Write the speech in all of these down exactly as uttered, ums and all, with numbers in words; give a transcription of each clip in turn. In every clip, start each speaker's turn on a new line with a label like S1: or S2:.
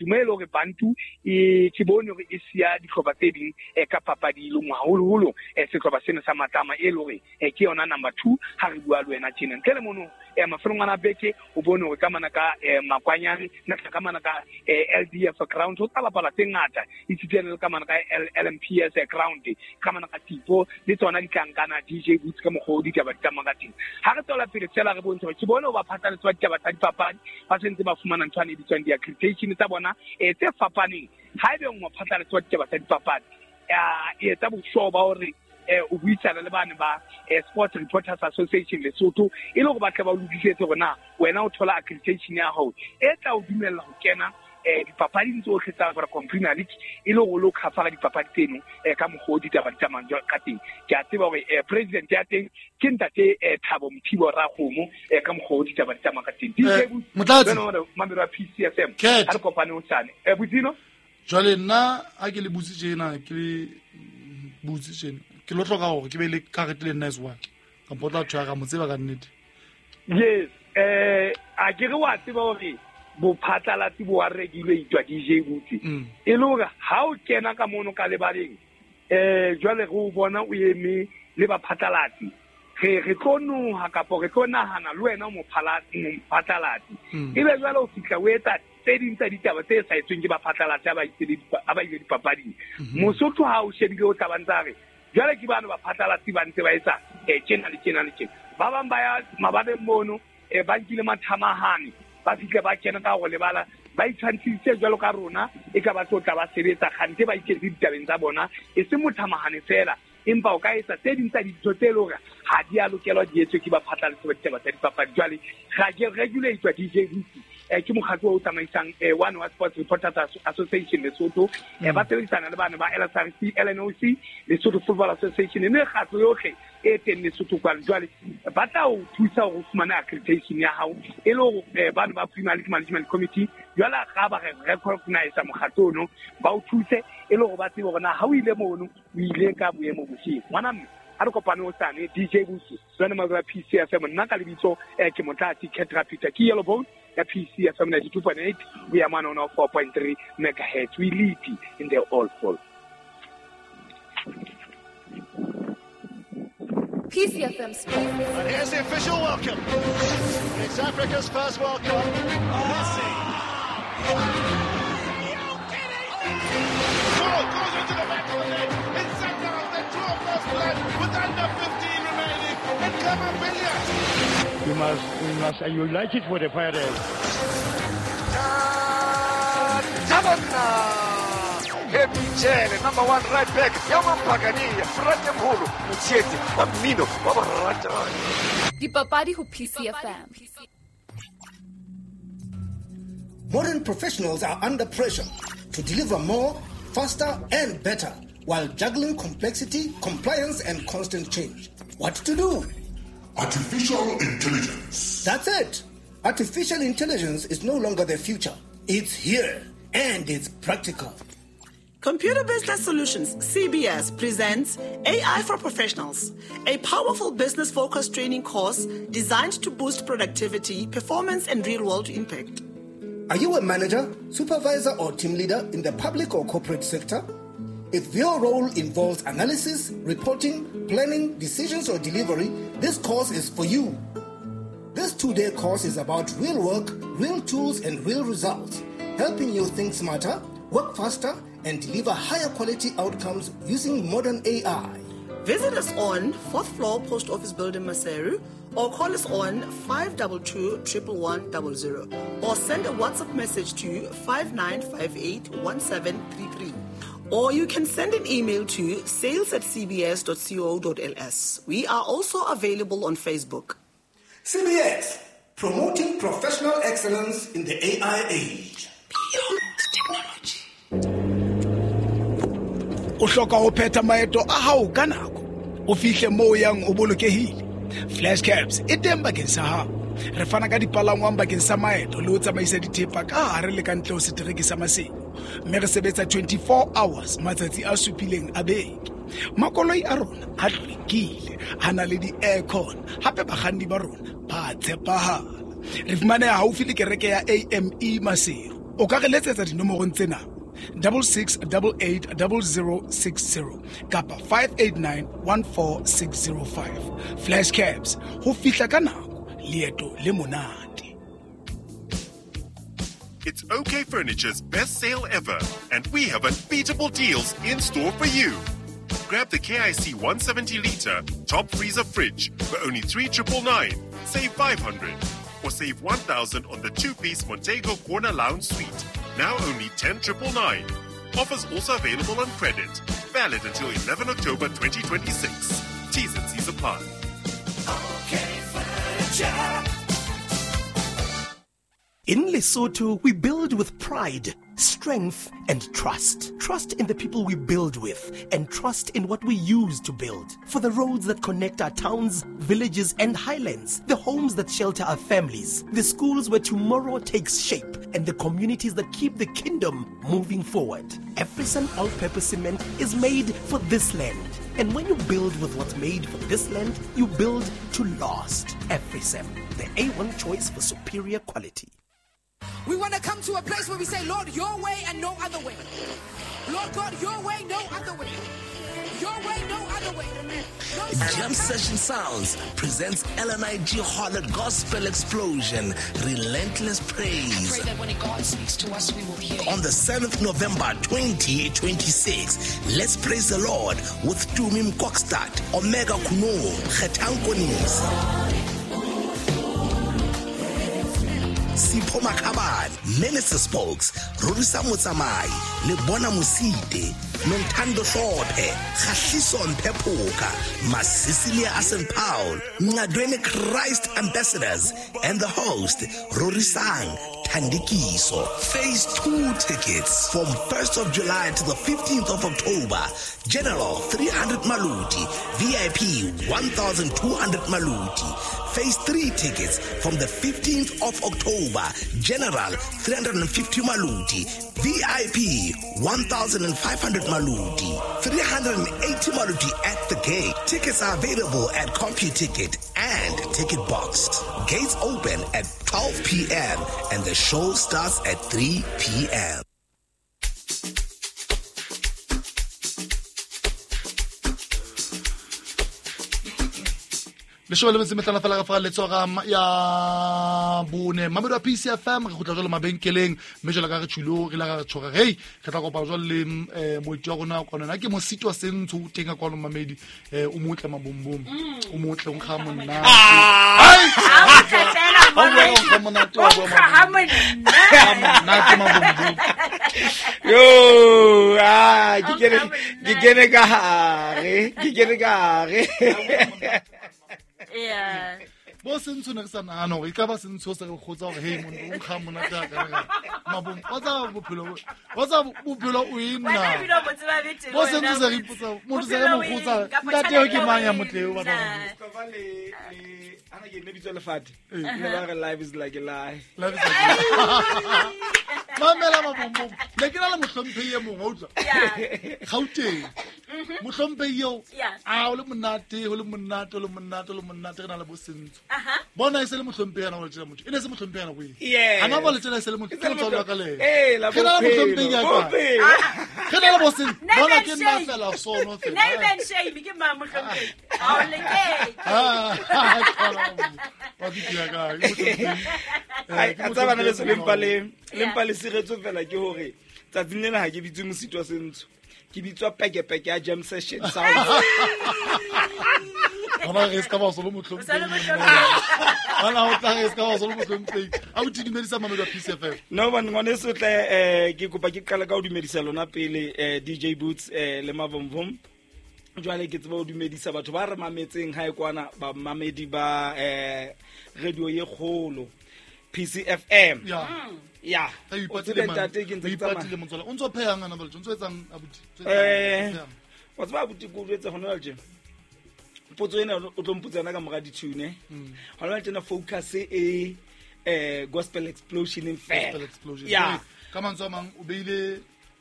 S1: Dumelo hore Bantu e ke bone hore e siya dihlopha tse ding ka papadi e le nngwe, haholoholo sehlopha sena sa Matlama e le hore ke yona number two ha re bua le wena tjena. Ntle le mono mafelong ana beke o bone hore ka mana ka Makwanyane, nna ka mana ka L D F ground ho tla bapala tse ngata, esitana le ka mana ka L M P S ground, ka mana ka Tipo le tsona ditlankana D J Boots ka mokgwa o ditaba di tsamayang ka teng. Ha re tswela pele fela re bontshe hore ke bone ho ba phatlalatsi ba ditaba tsa dipapadi ba sentse ba fumana ntho e bitswang di-accreditation tsa bona e tse fapaneng. Haebe o mophatlalatsi wa ditaba tsa dipapadi, e etsa boshoba hore o buisana le bane ba Sports Reporters Association Lesotho e le hore ba tle ba o lokisetse hore na wena o thola accreditation ya hao e tla o dumella ho kena dipapading tsohle tsa Vodacom Premier League e le hore o lo cover dipapadi tseno ka mokgwa o ditaba di tsamayang ka teng. Ke a tseba hore president ya teng ke ntate Thabo Mothibo Rakgomo ka mokgwa o ditaba di tsamayang ka teng.
S2: Motlatsi
S1: Mamelo wa P C F M ha re kopane hosane. Botsino
S2: jwale nna ha ke le butse tjena ke le butse tjena ke lo hloka hore ke be le karete le nna as well kampo o tla tshwara ka mo tseba ka nnete.
S1: Yes, eh a ke re wa tseba hore bophatlalatsi bo a rekilwe itwa D J Boots e le hore ha o kena ka mono ka lebaleng eh jwale re o bona o eme le baphatlalatsi re re tlo noha kapo re tlo nahana le wena o mophatlalatsi ebe jwale o fihla o etsa tse ding tsa ditaba tse sa etsweng ke baphatlalatsi ba itse ba ile dipapading. Mosotho ha o shebile o tla ba ntsa re jwale ke bana baphatlalatsi ba ntse ba etsa eh tjena le tjena le tjena. Ba bang ba ya mabaleng mono eh ba nkile mathamahane ba fihle ba kena ka go lebala ba itshwantshitse jwalo ka rona e ka ba tlo tla ba sebetsa kgante ba iketse ditabeng tsa bona e se mothamahane fela empa o ka etsa tse ding tsa dintho tse le hore ha di a lokelwa di etswe ke baphatlalatsi ba ditaba tsa dipapadi. Jwale ga ke regulate D J Boots ke mokgatlo o tsamaisang one wa Sports Reporters Association Lesotho ba sebedisana le bana ba L S R C, L N O C, Lesotho Football Association le mekgatlo yohle e teng Lesotho kwano. Jwale ba tla o thusa hore o fumane accreditation ya hao e le hore bana ba Premier League Management Committee jwale ga ba re recognize mokgatlo ono ba o thuse e le hore ba tsebe hore na ha o ile mono o ile ka boemo bofeng. Ngwana mme ha re kopane hosane D J Boots jwale Mazwa P C F M nna ka lebitso ke Motlatsi Ketra Peter ke Yellow Bone ya P C F M ninety-two point eight we are on four point three megahertz. We lead in the all fall.
S3: P C F M Sports.
S4: And here's the official welcome. It's Africa's first World Cup. Messi. Ball goes into the back of the net. It's sent out. They draw first blood with under fifteen remaining. And Clement Billiard.
S5: We must, we must unite it for the fire.
S6: Happy Jele, number one right back. Yamampagani, Frate Mholo, Motsietsi, wa mmino, wa boratani.
S3: Dipapadi ho P C F M.
S7: Modern professionals are under pressure to deliver more, faster and better while juggling complexity, compliance and constant change. What to do?
S8: Artificial intelligence.
S7: That's it. Artificial intelligence is no longer the future. It's here and it's practical.
S9: Computer Business Solutions, C B S, presents A I for Professionals, a powerful business-focused training course designed to boost productivity, performance, and real-world impact.
S7: Are you a manager, supervisor, or team leader in the public or corporate sector? If your role involves analysis, reporting, planning, decisions, or delivery, this course is for you. This two-day course is about real work, real tools, and real results, helping you think smarter, work faster, and deliver higher quality outcomes using modern A I.
S9: Visit us on fourth floor Post Office Building, Maseru, or call us on five two two, one one one zero zero, or send a WhatsApp message to five nine five eight, one seven three three. Or you can send an email to sales at c b s dot co dot l s. We are also available on Facebook.
S7: C B S, promoting professional excellence in the A I age.
S9: Beyond technology.
S10: O hloka ho phetha maeto a hao ka nako, o fihle moo o yang o bolokehile. Flash Cabs e teng bakeng sa hao. Re fana ka dipalangwang bakeng sa maeto le ho tsamaisa dithepa ka hare le ka ntle ho setereke sa Maseru. Mme re sebetsa twenty-four hours matsatsi a supileng a beke. Makoloi a rona a hlwekile, a na le di-aircon, hape bakganni ba rona ba tshepahala. Re fumaneha haufi le kereke ya A M E Maseru. O ka re letsetsa dinomorong tsena double six double eight double zero six zero kapa five eight nine one four six zero five. Flash Cabs, ho fihla ka nako, leeto le monate.
S8: It's OK Furniture's best sale ever, and we have unbeatable deals in store for you. Grab the K I C one seventy litre top freezer fridge for only three triple nine, save five hundred, or save one thousand on the two-piece Montego Corner Lounge Suite, now only ten triple nine. Offers also available on credit. Valid until eleven October twenty twenty-six. T's and C's apply.
S11: OK Furniture.
S12: In Lesotho, we build with pride, strength, and trust. Trust in the people we build with, and trust in what we use to build. For the roads that connect our towns, villages, and highlands, the homes that shelter our families, the schools where tomorrow takes shape, and the communities that keep the kingdom moving forward. Afrisan all-purpose cement is made for this land. And when you build with what's made for this land, you build to last. Afrisan, the A one choice for superior quality.
S13: We want to come to a place where we say, Lord, your way and no other way. Lord God, your way, no other way. Your way, no other way. No
S14: Jam Session Sounds presents L N I G Harlot Gospel Explosion, Relentless Praise.
S13: I pray that when God speaks to us, we will hear.
S14: On the seventh November twenty twenty-six, let's praise the Lord with Tumim Kokstad, Omega Kuno, Khetankonis, Sipho Makhabane, Minister Spokes, Rorisa Motsamai, Lebona Mosite, Nontando Hlophe, Khahliso Mphephuka, Masisilia Asen Paul, Ngadwene Christ Ambassadors, and the host, Rorisang Thandikiso. Phase two tickets from first of July to the fifteenth of October. General three hundred Maluti, V I P one thousand two hundred Maluti. Phase three tickets from the fifteenth of October. General three hundred fifty Maluti, V I P one thousand five hundred Maluti, three hundred eighty Maluti at the gate. Tickets are available at CompuTicket and Ticket Box. Gates open at twelve p.m. and the show starts at three p.m.
S2: Leshome le metso e mehlano fela ka fa letsoga ya bone Mamelodi wa P C F M re kgutla jwalo mabenkeleng mme jwalo ka re tshwilo re la re tshoga hey re tla kopa jwalo le moeti wa rona kwano na ke Mosito wa Sentsho o teng ka kwano Mamedi o motle mabombom o motle o nkga monate monate mabombom
S15: yo ah ke kene ke kene ka hare ke kene ka hare.
S16: Yeah.
S2: Bo Sentsho ne re sa nahana hore e ka ba Sentsho se re kgotsa hore hey monna o nkga monate a ka re mabong wa tsa bophelo wa tsa bophelo o eng na bo Sentsho se re ipotsa motho se re mo kgotsa ntate eo ke mang ya motle eo ba ba
S15: Mustafa le le ana ke ne bitso lefate le ba re life is like a lie.
S2: Life is like a lie. Mamela mabombom ne ke na le mohlomphehi e mongwe wa utlwa Gauteng mohlomphehi eo a o le monate o le monate o le monate o le monate re na le bo Sentsho bona e se le mohlomphehi ana o le tjela motho e ne se mohlomphehi ana go eng ana ba le tjela e se le motho ke motswalo wa ka le
S15: ena
S2: ke na le mohlomphehi ya ka ke na le bo Sentsho bona ke nna fela sono fela
S16: name and shame ke mang mohlomphehi a o leke
S2: wa ke ya ka ke mohlomphehi
S15: ai a tsabana le se lempa le lempa le siretso fela ke hore tsatsing lena ha ke bitswe Mosito wa Sentsho ke bitswa pekepeke ya Jam Session Sound.
S2: Ona re ska ba solo mohlomphehi ona o tla re ska ba solo mohlomphehi a o dumedisa Mamelodi wa P C F M
S15: no man ngwaneso tle eh ke kopa ke qala ka o dumedisa lona pele eh D J Boots eh le Mavomvom. Jwale ke tseba o dumedisa batho ba re mametseng hae kwana ba mamedi ba eh radio ye kgolo P C F M.
S2: Yeah.
S15: Yeah. O tsebe ntate ke ntse ke tsamaya.
S2: Motswala o ntso phehang ana bale o ntso etsang abuti.
S15: Eh. Wa tseba abuti ko jwetse hona jwale. Potso ena o tlo mpotsa yona ka mora ditune. Hona jwale tena focus e eh gospel explosion in fair.
S2: Gospel explosion.
S15: Yeah.
S2: Ka mantswe a mang o beile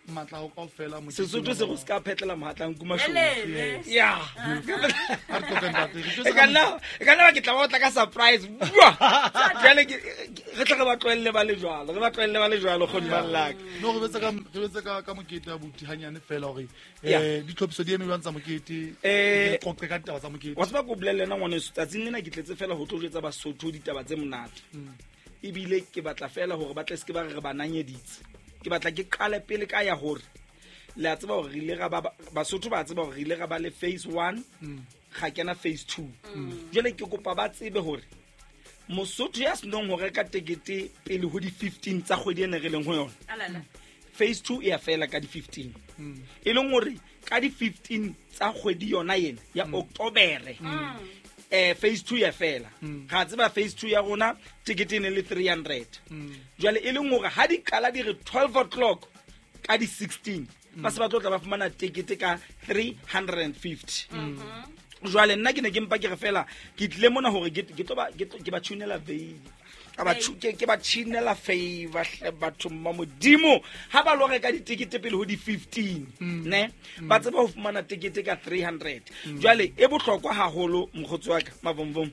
S2: matla ho kaofela mokete.
S15: Sesotho se go se ka phetlela mohatlang kuma show.
S2: Yes.
S15: Yeah.
S2: A re tlokeng ntate. Re
S15: E ka nna e ka nna ke tla ba tla ka surprise. Bua. Jwale ke re tla re ba tlohelle ba le jwalo. Re ba tlohelle ba le jwalo kgone ba llaka.
S2: No re betse ka re betse ka ka mokete abuti hanyane fela hore
S15: Yeah.
S2: eh ditlhophiso di eme jwang tsa mokete.
S15: Eh,
S2: Re qoqe ka ditaba tsa mokete.
S15: Wa tseba ko bolelle nna ngwaneso tsatsing lena ke tletse fela ho tlo jwetsa Basotho ditaba tse monate. Ebile ke batla fela hore ba tle se ke ba re re ba nanyeditse. Ke batla ke qale pele ka ya hore le a tseba hore re ile ra ba Basotho ba tseba hore re ile ra ba le phase one ga kena phase two. Jwale ke kopa ba tsebe hore Mosotho ya senong ho reka tekete pele ho di fifteen tsa kgwedi ena re leng ho yona.
S16: Alala.
S15: Phase two e ya fela ka di fifteen. E leng hore ka di fifteen tsa kgwedi yona ena ya October. Eh phase two ya fela. Ga tseba phase two ya rona ticket e ne le three hundred. Jwale e leng hore ha di qala di re twelve o'clock ka di sixteen ba se ba tlo tla ba fumana ticket ka three hundred and fifty. Jwale nna ke ne ke mpa ke re fela ke tlile mona hore ke ke tlo ba ke tlo- ke ba tshunela vein. Ka ba tshu- ke ke ba tshunela favor hle batho mma modimo ha ba lo reka ditikete pele ho di fifteen ne ba tseba ho fumana tikete ka three hundred. Jwale e bohlokwa haholo mokgotsi wa ka Mavomvom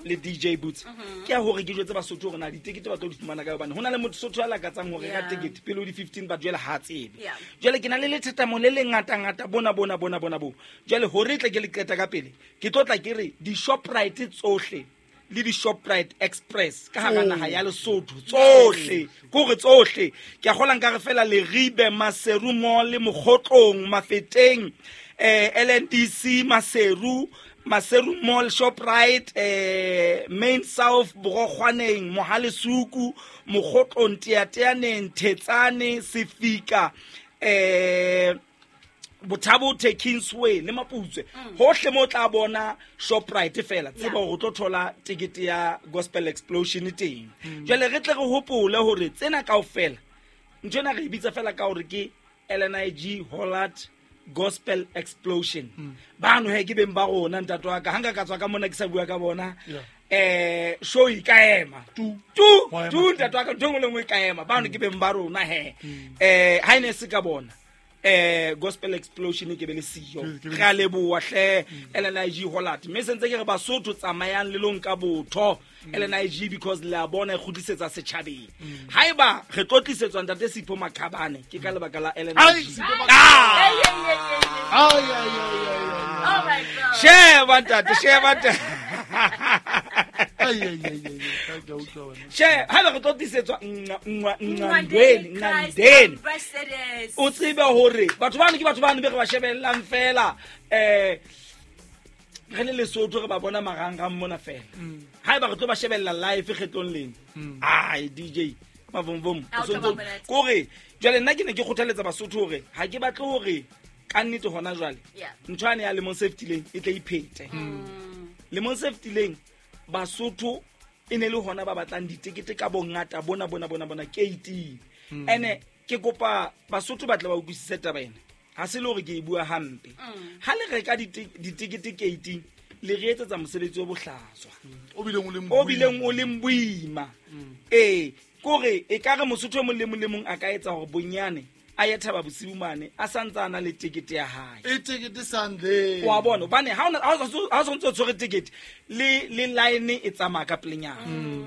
S15: le D J Boots ke ya hore ke jwetse Basotho hore na ditikete ba tlo di fumana ka hobane ho na le motho Sotho a lakatsang ho reka
S16: Yeah.
S15: tikete pele ho di fifteen ba jwale ha tsebe.
S16: Yeah.
S15: Jwale ke na le lethetamo le le ngata ngata bona bona bona bona bo. Jwale hore tle ke le qeta ka pele ke tlo tla ke re di Shoprite tsohle le di Shoprite Express ka hara naha ya Lesotho tsohle kore tsohle ke a kgola nka re fela Leribe Maseru Mall Mokgotlong Mafeteng eh L N D C Maseru Maseru Mall Shoprite eh Main South Borokgwaneng Mohalesuku Mokgotlong Teateaneng Thetsane Sefika eh Bothabo Kingsway le Maputswe hohle mo tla bona Shoprite fela tseba hore o tlo thola tikete ya Gospel Explosion teng. Jwale re tle re hopole hore tsena kaofela ntho ena re e bitsa fela ka hore ke L N I G Hollard Gospel Explosion. Bano he ke beng ba rona ntate wa ka ha nka ka tswa ka mona ke sa bua ka bona eh show e ka ema tu tu tu ntate wa ka ntho e nngwe le nngwe e ka ema bano ke beng ba rona he eh ha ene se ka bona eh Gospel Explosion ke be le siyo re a leboha hle L N I G Hollard mme sentse ke re Basotho tsamayang le long ka botho L N I G because le a bona e kgutlisetsa setjhabeng haeba re tlo tlisetswa ntate Sipho Makhabane ke ka lebaka la L N I G.
S2: Ai ai ai ai.
S16: Oh my God.
S15: Sheba ntate sheba ntate.
S2: Ai ai ai ai ka utlwa wena.
S15: She haeba re tlo tlisetswa nngwa nngwa ndweni ndweni o tsebe hore batho bano ke batho bano be re ba shebellang fela eh re le Lesotho re ba bona marangrang mona fela haeba re tlo ba shebella live kgetlong lena ai D J Mavomvom
S16: Ha o tla ba monate.
S15: kore jwale nna ke ne ke kgothaletsa Basotho hore ha ke batle hore ka nnete hona jwale
S16: Yeah.
S15: ntho ane ya lemong se fetileng e tle iphete lemong se fetileng Basotho e ne le hona ba batlang ditekete ka bongata bona bona bona bona K T ene ke kopa Basotho ba tle ba utlwisise taba ena ha se le hore ke e bua hampe ha le reka dite- ditekete K T le re etsetsa mosebetsi o bohlaswa
S2: O bileng o leng
S15: o bileng o leng boima ee kore e ka re Mosotho e mong le mong le mong a ka etsa hore bonyane a ye Thaba Bosiu mane a santse a na le tekete ya hae
S2: E tekete Sunday.
S15: wa bona hobane ha ona ha o ha o sontse o tshwere tekete le le line e tsamaya ka pelenyana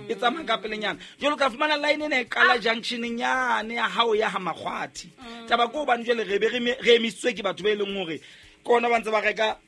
S15: e tsamaya ka pelenyana jwale o tla fumana line ena e qala junctioneng yane ya hao ya ha Makgwathi taba ke hobane jwale re be re me- re emisitswe ke batho ba e leng hore ke ona ba ntse ba reka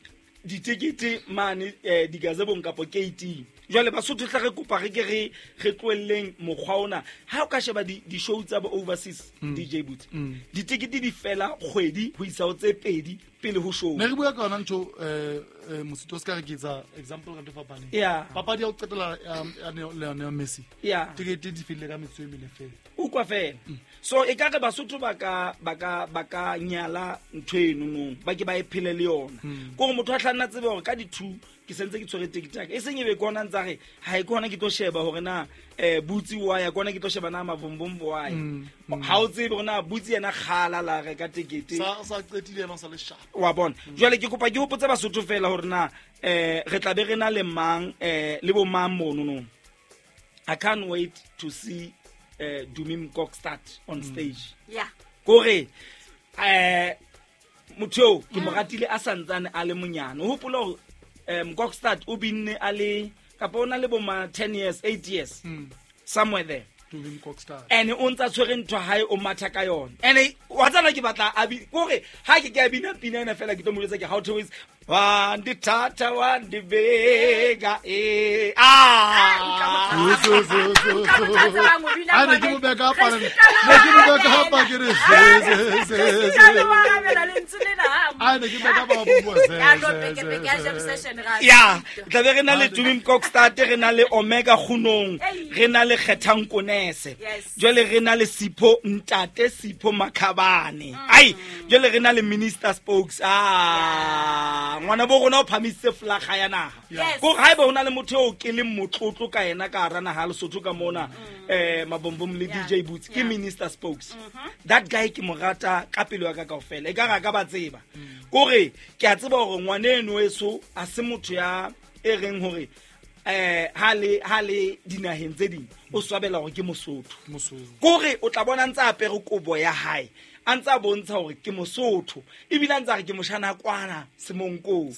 S15: ditekete mane eh, digazebong kapo K T jwale Basotho tla re kopa re ke re re tlohelleng mokgwa ona ha o ka sheba di di-show tsa bo overseas D J Boots ditekete di fela kgwedi ho isa ho tse pedi pele ho show
S2: Ne re bua ka yona ntho eh eh, Mosito o ska re ke etsa example ka ntho e fapaneng.
S15: Yeah.
S2: Papadi ya ho qetela ya ya Lionel Messi.
S15: Yeah.
S2: Tekete di fellile ka metsotso e mene fela.
S15: Utlwa fela so e ka re Basotho ba ka ba ka ba ka nyala ntho eno nong ba ke ba e phele le yona kore motho a tla nna tsebe hore ka di-two ke sentse ke tshwere tekete ya ka e seng e be ke ona ntsa re ha e ke hona ke tlo sheba hore na eh Butsi wa ya ke hona ke tlo sheba na Mavombombo wa ya ha o tsebe hore na Butsi yena kgala la reka tekete
S2: Sa sa qetile yena o sa le sharp.
S15: wa bona jwale ke kopa ke hopotse Basotho fela hore na eh re tla be re na le mang eh le bo mang mono no I can't wait to see eh Dumi Mkokstad on stage
S16: Yeah.
S15: kore Eh motho eo ke mo ratile a santsane a le monyane. O hopola hore eh Mkokstad o binne a le kapa o na le bo ma ten years, eight years. Somewhere there. And o ntsa tshwere ntho hae o matha ka yona. And wa tsana ke batla a bi kore ha ke ke a bina pina ena fela ke tlo mo jwetsa ke how to is one di tata one di vega eh ah
S2: a ne ke mo beka pa ne ke mo beka pa ke re se se se a ne ke beka pa bo se
S15: ya tla be re na le Tumi Mkokstad, re na le Omega Kgunong, re na le Kgethang Konese, jwale re na le Sipho Ntate Sipho Makhabane, ai jwale re na le Minister Spokes. Ah ngwana bo rona o phamisitse flaga ya naha. Ko ha eba hona le motho eo ke leng motlotlo ka yena ka hara naha Lesotho ka mona eh Mabombom le D J Boots ke Minister Spokes. That guy ke mo rata ka pelo ya ka kaofela, e ka ra ka ba tseba kore ke a tseba hore ngwana eno eso a se motho ya e reng hore eh ha le ha le dinaheng tse ding o swabela hore ke Mosotho. Kore o tla bona ntse a apere kobo ya hae a ntse a bontsha hore ke Mosotho ebile a ntse a re ke moshana kwana Semonkong.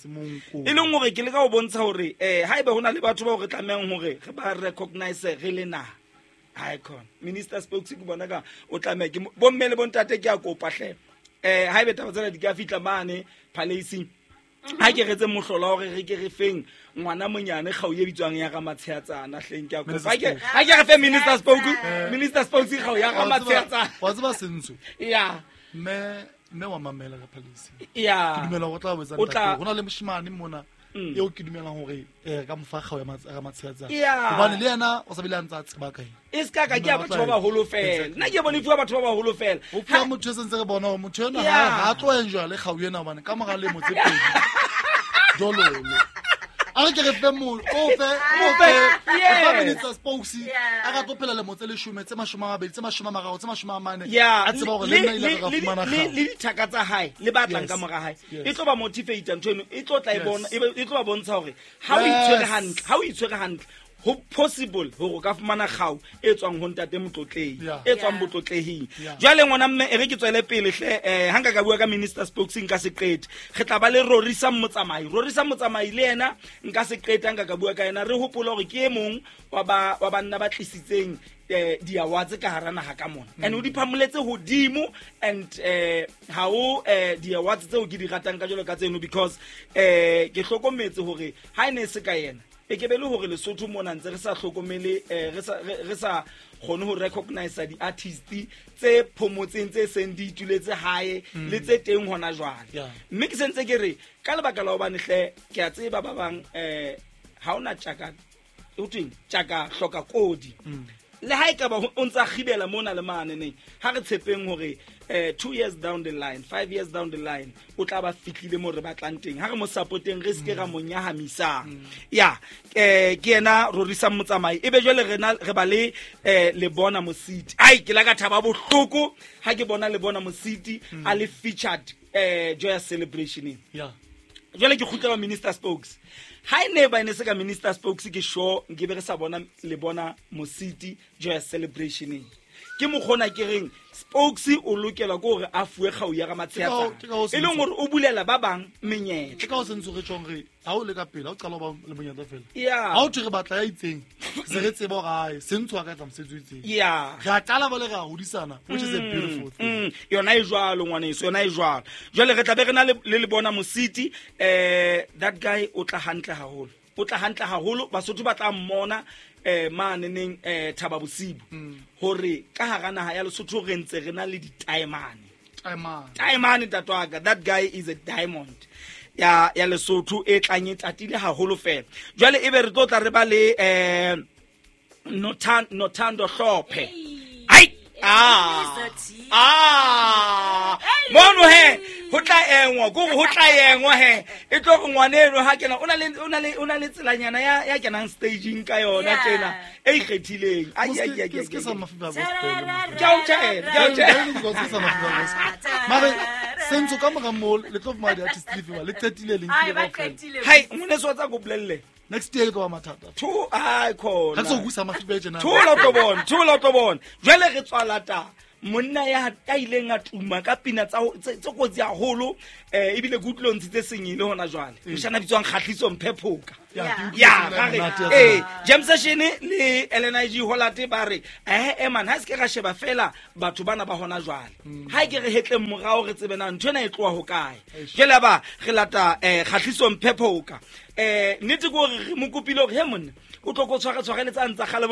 S15: E leng hore ke leka ho bontsha hore eh haeba hona le batho ba re tlamehang hore re ba recognize re le naha. Icon Minister Spokes ke bona ka o tlameha ke bomme le bontate ke a kopa hle eh haebe taba tsena di ka fitla mane palace ha ke retse mohlola hore re ke re feng ngwana monyane kgau e bitswang ya ga Matsheatsana hleng ke a kopa ke ha ke re fe Minister Spokes Minister Spokes kgau ya ga Matsheatsana
S2: wa tseba sentso
S15: ya
S2: me me wa mamela ka palace
S15: ya
S2: ke dumela go tla botsa ntate hona le moshimane mona eo ke dumelang hore eh ka mofa kgau ya Matsheatsana hobane le yena o sa bile a ntsa tseba kae
S15: e ska ka ke a batho ba baholo fela nna ke bone fuwa batho ba baholo fela
S2: o fuwa motho e sentse re bona hore motho ena ha a tlo enjoy le kgau ena hobane ka mora lemo tse pedi dololo a re ke re fe mo o fe o fe o Minister Spokes a ka tlo phela lemo tse leshome tse mashome a mabedi tse mashome a mararo tse mashome a mane a tseba hore le nna ile ka fumana
S15: kgau le dithaka tsa hae le batlang ka mora hae e tlo ba motivate ntho eno e tlo tla e bona e tlo ba bontsha hore ha o itshwere hantle ha o itshwere hantle ho possible hore ka fumana kgau e tswang ho ntate motlotlei e tswang botlotlehing. Jwale ngwana mme e re ke tswele pele hle eh ha nka ka bua ka Minister Spokes nka se qete re tla ba le Rorisa Motsamai. Rorisa Motsamai le yena nka se qete nka ka bua ka yena re hopola hore ke e mong wa ba wa banna ba tlisitseng di awards ka hara naha ka mona and o di phamoletse hodimo and eh ha o di awards tseo ke di ratang ka jalo ka tseno because eh ke hlokometse hore ha ene se ka yena e ke be le hore Lesotho mona ntse re sa hlokomele re sa re sa kgone ho recognize di artist tse phomotseng tse seng di ituletse hae le tse teng hona jwale. Mme ke sentse ke re ka lebaka la hobane hle ke a tseba ba bang eh ha ona tjaka o tweng tjaka hloka kodi le ha e ka ba o ntsa gibela mona le mane neng ha re tshepeng hore eh two years down the line, five years down the line o tla ba fitlile mo re batlang teng ha re mo supporteng re ske ra mo nyahamisang. Ya eh ke yena Rorisa Motsamai ebe jwale re na re ba le eh le bona Mositi. Ai ke la ka thaba bohloko ha ke bona le bona Mositi a le featured eh Joyous Celebration.
S2: Ya
S15: jwale ke kgutlela Minister Spokes ha e ne ba ene se ka Minister Spokes ke sure nke be re sa bona le bona Mositi Joyous Celebration ke mokgona ke reng Spokes o lokela ke hore a fuwe kgau ya ga Matsheatsana e leng hore o bulela ba bang menyetla
S2: ke ka o sentse re tjong re ha o le ka pele ha o qala ba le monyetla fela
S15: yeah
S2: ha o thwe re batla ya itseng se re tseba hore hae sentse a ka tla mosebetsi o itseng
S15: yeah
S2: re a qala ba le re a hodisana which is a beautiful thing.
S15: Yona e jwalo ngwaneso yona e jwalo jwale re tla be re na le le bona Mositi eh that guy o tla hantle haholo o tla hantle haholo Basotho ba tla mmona eh mane neng eh Thaba Bosibu hore ka hara naha ya Lesotho re ntse re na le di-diamond
S2: diamond
S15: diamond tatwaka that guy is a diamond ya ya Lesotho e tlang e tatile haholo fela jwale ebe re tlo tla re ba le eh Nothando Nothando Hlophe ai ah ah mono he ho tla engwa go ho tla engwa he e tlo re ngwane eno ha kena o na le o na le o na le tselanyana ya ya kenang staging ka yona tjena e ikgethileng ai ai ai
S2: ke sa mafiba gospel
S15: ke a o tjela ke a o
S2: tjela ke sa mafiba gospel mare sentso ka mora mo le tlo fuma di artist le le qetile le nkile
S15: hai ngone so tsa go bolelle
S2: next year go ba mathata
S15: two ai khona
S2: ha tso busa mafiba tjena
S15: two la tlo bona two la tlo bona jwale re tswala ta Monna ya ya ileng a tuma ka pina tsa tse kotsi haholo eh ebile ke utlwile ntshitse sengile hona jwale. Moshana bitswang Kgahliso Mphephoka. Ya ga re eh Jam Session le L N I G Holate ba re eh eh man ha se ke ra sheba fela batho bana ba hona jwale. Ha ke re hetleng morao re tsebe na ntho ena e tloha ho kae. Jwale ba re lata eh Kgahliso Mphephoka. Eh nnete ke hore re mo kopile hore he monna o tlo go tshwara tshwareletse a ntsa gale